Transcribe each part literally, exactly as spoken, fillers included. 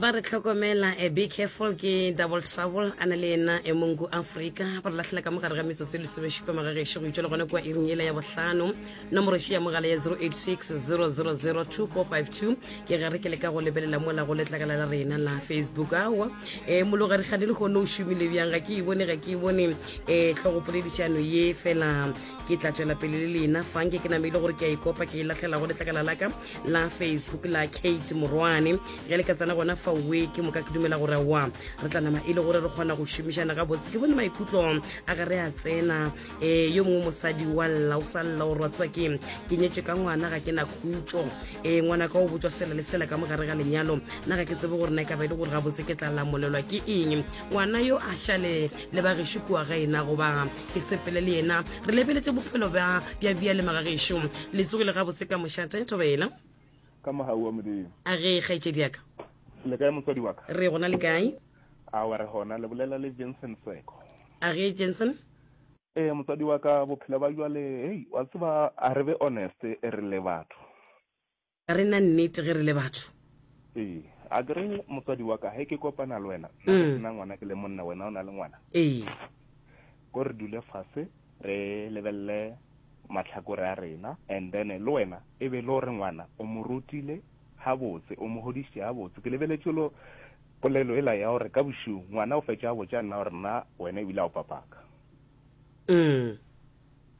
Ba re hlokomela eh, be careful ke Double Trouble a na le yena eh, Mongu Africa. Ba re lahlela ka mogare ga metsotso e lesomešupa magagešo go itšwa le gona kua iring yela ya bohlano. Nomoro še ya mogala ya zero eight six zero zero zero two four five two ke ge re ke leka go lebelela mola go letlakala la rena la Facebook. Aowa eh, mologadi gane le kgone o šomile bjang, ga ke e bone, ga ke e bone eh, tlhogopoledišano ye, fela ke tla tšwela pele le lena fa nke ke namile gore ke a ikopa ke e lahlela go letlakala la ka la Facebook la Kate Morwane. Ge le ka tsena gona fa we ke moka ke dumela gore wa re tla nama e le gore re kgona go šomišana gabotse. Ke bone maikutlo a ga re a tsena um yo mongwe mosadi wa lla o sa lla gore wa tseba ke ke nyetswe ka ngwana, ga ke na khutšo, um ngwana ka o botswa sela le sela ka mogare ga lenyalo, nna ga ke tsebe gore na e ka ba e le gore gabotse ke tla lamolelwa ke eng, ngwana yo a šale le bagešo kua ga ena goba ke sepele le yena. Re lebeletše bophelo bja bja bja le magagešo. Le tsogile gabotse ka mošate, thobela? Ka mogau wa Modimo. A ge kgaetšedi ya ka. Le kae motswadi wa ka? Re gona, le kae? Awa re gona, le bolela le Vincent Seko. A ge Jensen. Ee motswadi wa ka, bophelo ba jwale, hei, wa tseba, a re be honest re le batho. Re na nnete ge re le batho. Ee, a ke re motswadi wa ka, he ke kopana le wena, nna ke sena ngwana, ke le monna, wena o na le ngwana. Ee. Ko re dule fase re lebelele mahlakore a rena, and then le wena e be le gore ngwana o mo rutile gabotse, o mo godišitše gabotse. Ke lebeletše lo polelo ela ya gore ka bošego ngwana o fetša a botša nna gore nna wena ebile a o papaka. Mm.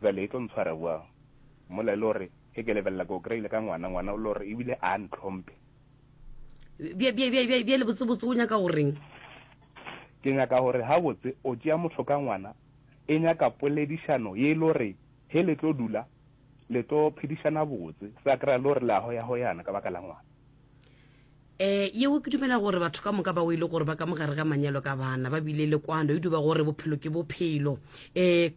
Bjale e tlo ntshwara bjang mola e le gore ge ke lebelela ke o kry-ile ka ngwana, ngwana o le gore ebile a ntlhomphe. Bjale botsebotse o nyaka goreng? Ke nyaka gore gabotse o tšea motho ka ngwana, e nyaka poledišano ye e le gore he le tlo dula le tlo phedišana botse, sa kry-a le gore le a hoya-hoyana ka baka la ngwana. Um yeo ke dumela gore batho ka moka bao e le gore ba ka mogare ga manyalo ka bana ba bile le kwano, e duba gore bophelo ke bophelo. Um